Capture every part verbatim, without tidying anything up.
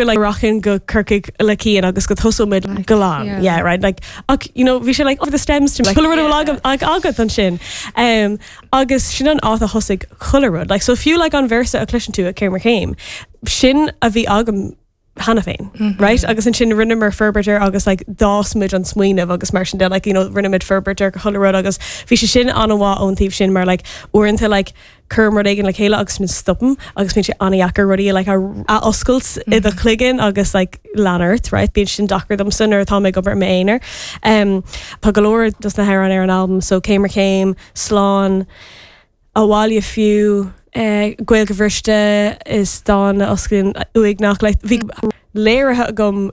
Like rachainn go Corcaigh le Cian agus go dtosóimid glan yeah. yeah right like ach you know bhí sé like oh, the stems to me like, rud yeah. ag agat ansin um, agus sin an áit a thosaigh chuile rud like so fiú like an véarsa a chloiseann tú a céim ar chéim sin a bhí agam cheana féin mm -hmm. right agus ansin rinneamar forbairt air agus like d'fhás muid an smaoineamh agus mar sin de like you know rinneamar forbairt ar chuile rud agus bhí sé sin an-mhaith ón taobh sin mar like uaireanta like cuirim rud éigin le chéile agus min stopaim agus bíonn sé an-deacair rudaí like a, a oscailt mm -hmm. i do chloigeann agus like leanúint right bíonn sin deacair domsa nuair atá mé ag obair m'aonar um, Tá go leor dos na hamhráin ar an album so céim ar chéim slán abhaile fiú eh, Gaeilge bhriste is dán a osclaíonn uaigneach like, bhí léirithe agam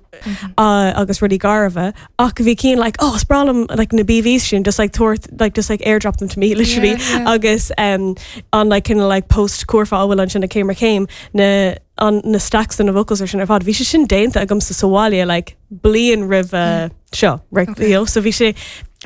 uh, agus rudaí garbha ach bhí Cian like oh is breá liom like na BVs sin just like tabhair like just like airdrop them to me literally Yeah, yeah. agus um, an like kind of like post curfá bhfuil ansin a céim ar chéim na an na stacks na vocals ar sin ar fad bhí sé sin déanta agamsa sa bhaile like bliain roimh uh, seo right Okay. you know, so bhí sé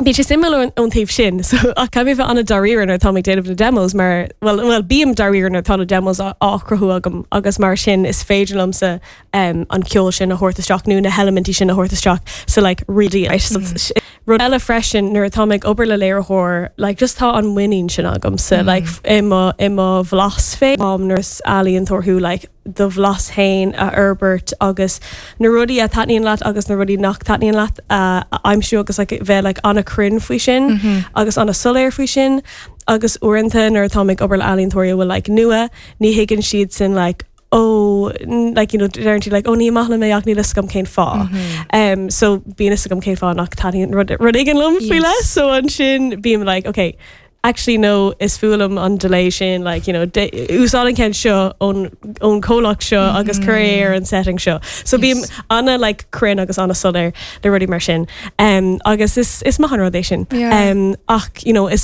Bhí sé suimiúil ón taobh sin, so ach caithfidh mé bheith an-dáiríre nuair atá ag déanamh na demos mar well, well bím dáiríre nuair atá na demos á á chruthú agam agus mar sin is féidir liomsa um, an ceol sin a thabhairt isteach nó na heilimintí sin a thabhairt isteach so like really right? so, mm -hmm. Rud eile freisin nuair atá ag obair le léiritheoir like just tá an muinín sin agam sa mm. like i mo i mo bhlas féin nuair is ealaíontóir thú like do bhlas féin a fhorbairt agus na rudaí a thaitníonn leat agus na rudaí nach dtaitníonn leat uh, a aimsiú agus like, bheith like, an-chruinn faoi sin mm -hmm. agus an-soiléir faoi sin agus uaireanta nuair atá ag obair le ealaíontóirí bhfuil like, nua ní thuigeann siad sin like, oh like you know deireann like oh ní maith liom é ach níl a fhios agam cén fáth mm -hmm. um, so bíonn a fhios agam cén fáth nach dtaitníonn rud rud éigin liom faoi le so ansin bím like okay actually no is fuath liom an delay sin like you know úsáid an ceann seo ón ón comhlacht seo mm -hmm. agus cuir é ar an setting seo so bím yes. ana like cruinn agus an-soiléir le rudaí mar sin um, agus is is maith an rud é sin Yeah. um, ach you know is